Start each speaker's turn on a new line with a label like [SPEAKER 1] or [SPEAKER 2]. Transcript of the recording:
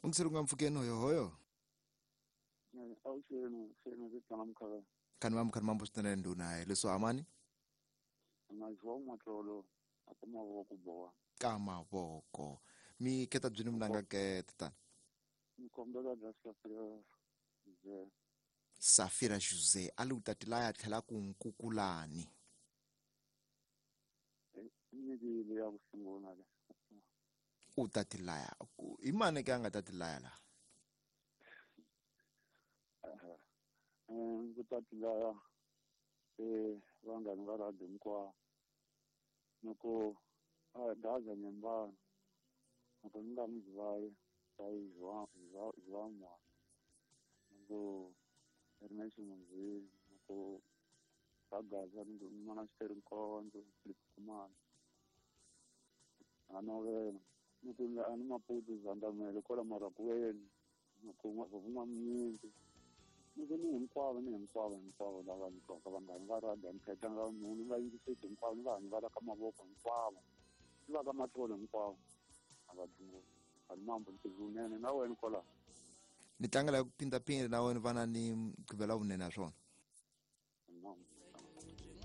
[SPEAKER 1] Ungiseri nga mpfukeni hoyohoyo.
[SPEAKER 2] Awuxeni xeni ndzi tlanga mukhala.
[SPEAKER 1] Khani mambo khani mambo swinene ndhuna leswo amani.
[SPEAKER 2] Na João Matlolo a ka mavoko boha.
[SPEAKER 1] Ka mavoko. Mi keta byini mnanga ke tatana.
[SPEAKER 2] Ni kombela bya Safira Jose.
[SPEAKER 1] Safira Jose a li u tatilaya tlhela ku nkukulani.
[SPEAKER 2] Nyikile ya ku sungula le.
[SPEAKER 1] U tatilaya. I mani ke a nga tatilaya la?
[SPEAKER 2] Ku tatilaya vanghani va radio hinkwavo. Loko a gaza nyembana loko ni nga mi zivayi va João Mwana. Loko Ernest Munzini loko va gaza ni mana Xiteri Nkondzo Philip Khumalo a novela ni ku a ni Maputo Zandamele kwala Marakuweni loko Vun'wamnyingi ni ku ni hinkwavo ni hinkwavo hinkwavo lava ni twaka vanghani va radio ni khetanga munhu ni va yingiseti hinkwavo ni vanhu va la ka mavoko hinkwavo ni va ka matlolo hinkwavo a va dlungu a ni mambo ntirho wunene na wena kwalaho.
[SPEAKER 1] Ni tlangela ku phindaphinda na wena vana ni mugqivela vunene ha swona.